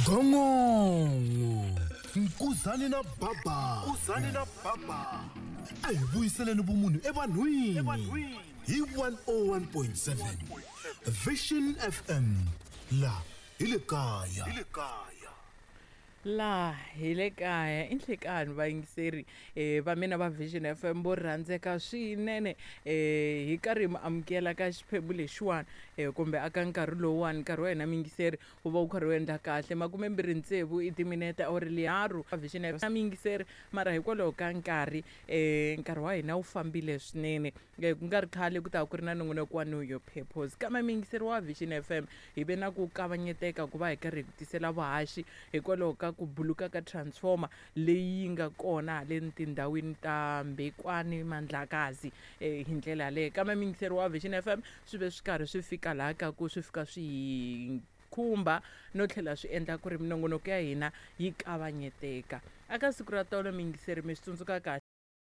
Gongongo Nkuzani na Baba. Nkuzani na Baba. A hi vuyiseleni vumunhu evanhwini. Hi 101.7 Vision FM la hi le kaya. Hi le kaya. Laha hi le kaya i nhlekani vayingiseri va mina va Vision FM vo rhandzeka swinene hi karhi hi mi amukela ka xiphemu lexiwani kumbe aka nkarhi lowuwani nkarhi wa hina muyingiseri wu va wu karhi wu endla kahle makumembirhi tsevu i timinete awuri liharu Vision FM muyingiseri mara hikwalaho ka nkarhi nkarhi wa hina wu fambile swinene ku nga ri khale ku ta ku ri na nongonoko wa Know Your Purpose kambe muyingiseri wa Vision FM hi ve na ku kavanyeteka ku va hi karhi hi ku tisela vuhaxi hikwalaho ka ku buluka ka transformer leyi yi nga kona haleni tindhawini ta Mbekwane Mandlakazi hi ndlela yaleyo kambe muyingiseri wa Vision FM swi ve swi karhi swi fika laha ka ku swi fika swi hi khumba no tlhela swi endla ku ri minongonoko ya hina yi kavanyeteka aka siku ra tolo muyingiseri mi swi tsundzuka kahle.